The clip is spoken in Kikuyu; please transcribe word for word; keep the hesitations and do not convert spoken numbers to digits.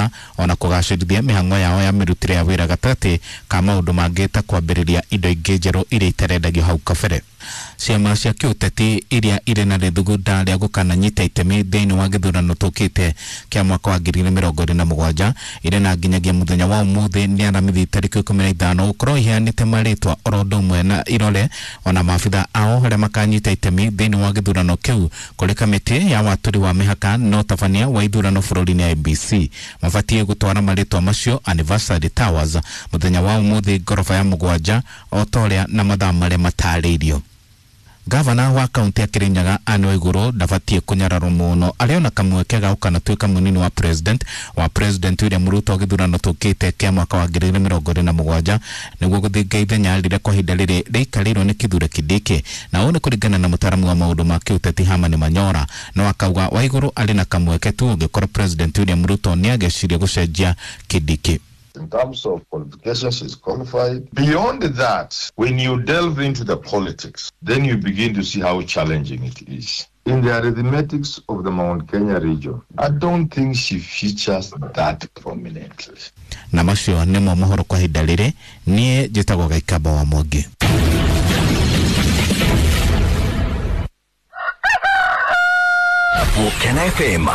wĩra ona kũgacĩrithia mĩhang'o yao ya mĩrutĩre ya wĩra gatagatĩ ka maũndũ mangĩ ta kwambĩrĩria indo ingĩ njerũ iria itarendagio hau kabere. Ciama cia kĩũteti iria irĩ na rĩthugunda rĩa gũkananyita itemi thĩinĩ wa gĩthurano tũkĩte kĩa mwaka wa ngiri igĩrĩ mĩrongo ĩrĩ na mũgwanja irĩ na nginyagia mũthenya wa ũmũthĩ nĩ Aramithi tarĩki ikũmi na ithano gũkorwo iheanĩte marĩtwa oro ũndũ ũmwe na irore ona maabitha ao arĩa makanyita itemi thĩinĩ wa gĩthurano kĩu kũrĩ kamĩtĩ ya watũri wa mĩhaka na ũtabania wa ithurano bũrũri-inĩ I B C. Mabatiĩ gũtwara marĩtwa macio Anniversary Towers mũthenya wa ũmũthĩ ngoroba ya mũgwanja o ta ũrĩa na mathaa marĩa matarĩirio. Gavana wa kaunti ya Kirinyaga Anne Waiguru ndabatiĩ kũnyararwo mũno arĩ ona kamweke ga gũkanatuĩka mũnini wa president wa president William Ruto gĩthurano tũkĩte kĩa mwaka wa ngiri igĩrĩ mĩrongo ĩrĩ na mũgwanja nĩguo gũthinga ithenya rĩrĩa kwa ihinda rĩrĩ rĩikarĩirwo nĩ Kithure Kindiki. Na ũũ nĩ kũringana na mũtaaramu wa maũndũ ma kĩũteti Herman Manyora, no akauga Waiguru arĩ na kamweke tu ũngĩkorwo president William Ruto nĩageciria gũcenjia Kindiki. In terms of qualifications, she's qualified. Beyond that, when you delve into the politics, then you begin to see how challenging it is. In the arithmetics of the Mount Kenya region, I don't think she features that prominently. Na macio nĩmo mohoro kwa ihinda rĩrĩ, niĩ njĩtagwo Gaikamba wa Mwangi. Gukena F M.